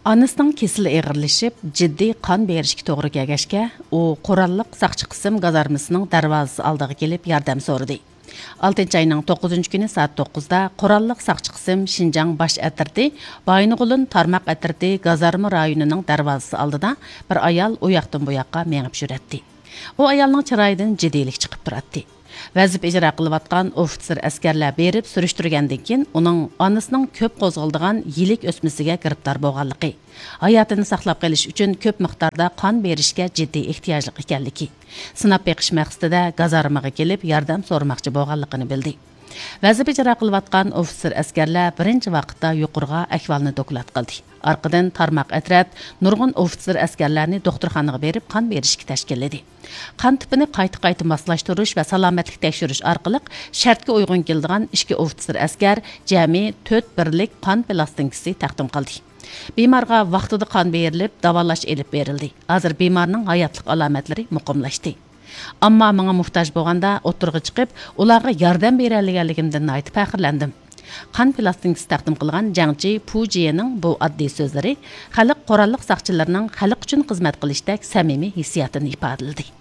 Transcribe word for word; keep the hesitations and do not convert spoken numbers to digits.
ئانىسىنىڭ كېسىلى ئېغىرلىشىپ، جىددىي قان بېرىشكە توغرا كەلگەچكە، ئۇ قوراللىق ساقچى قىسىم گازارمىسىنىڭ دەرۋازىسى ئالدىغا كېلىپ ياردەم سورىدى. ئالتىنچى ئاينىڭ توققۇزىنچى كۈنى سائەت توققۇزدا قوراللىق ساقچى قىسىم شىنجاڭ باش ئەترىتى، بايىنغولىن تارماق ئەترىتى گازارما رايونىنىڭ دەرۋازىسى ئالدىدا بىر ئايال ئۇ ياقتىن بۇ ياققا مېڭىپ يۈرەتتى. ئۇ ئايالنىڭ چىرايىدىن جىددىيلىك چىقىپ تۇراتتى. ۋەزىپە ئىجرا قىلىۋاتقان ئوفىتسېر ئەسكەرلەر بېرىپ سۈرۈشتۈرگەندىن كېيىن، ئۇنىڭ ئانىسىنىڭ كۆپ قوزغىلىدىغان يىلىك ئۆسمىسىگە گىرىپتار بولغانلىقى، ھاياتىنى ساقلاپ قېلىش ئۈچۈن كۆپ مىقداردا قان بېرىشكە جىددىي ئېھتىياجلىق ئىكەنلىكى، سىناپ بېقىش مەقسىتىدە گازارمىغا كېلىپ ياردەم سورىماقچى بولغانلىقىنى بىلدى. ۋەزىپە ئىجرا قىلىۋاتقان ئوفىتسېر ئەسكەرلەر بىرىنچى ۋاقىتتا يۇقىرىغا ئەھۋالنى دوكلات قىلدى. ئارقىدىن تارماق ئەترەت نۇرغۇن ئوفىتسېر ئەسكەرلەرنى دوختۇرخانىغا بېرىپ قان بېرىشكە تەشكىللىدى. قان تىپىنى قايتا-قايتا ماسلاشتۇرۇش ۋە سالامەتلىك تەكشۈرۈش ئارقىلىق شەرتكە ئۇيغۇن كېلىدىغان ئىككى ئوفىتسېر ئەسكەر جەمئىي تۆت بىرلىك قان پىلاستىنكىسى تەقدىم قىلدى. بىمارغا ۋاقتىدا قان بېرىلىپ، داۋالاش ئېلىپ بېرىلدى. ھازىر بىمارنىڭ ھاياتلىق ئالامەتلىرى مۇقىملاشتى. ئامما ماڭا موھتاج بولغاندا ئوتتۇرىغا چىقىپ، ئۇلارغا ياردەم بېرەلىگەنلىكىمدىن ناھايىتى پەخىرلەندىم. قان پىلاستىنكىسى تەقدىم قىلغان جەڭچى پۇ جىيېنىڭ بۇ ئاددىي سۆزلىرى خەلق قوراللىق ساقچىلىرىنىڭ خەلق ئۈچۈن خىزمەت قىلىشتەك سەمىمىي ھېسسىياتىنى ئىپادىلىدى.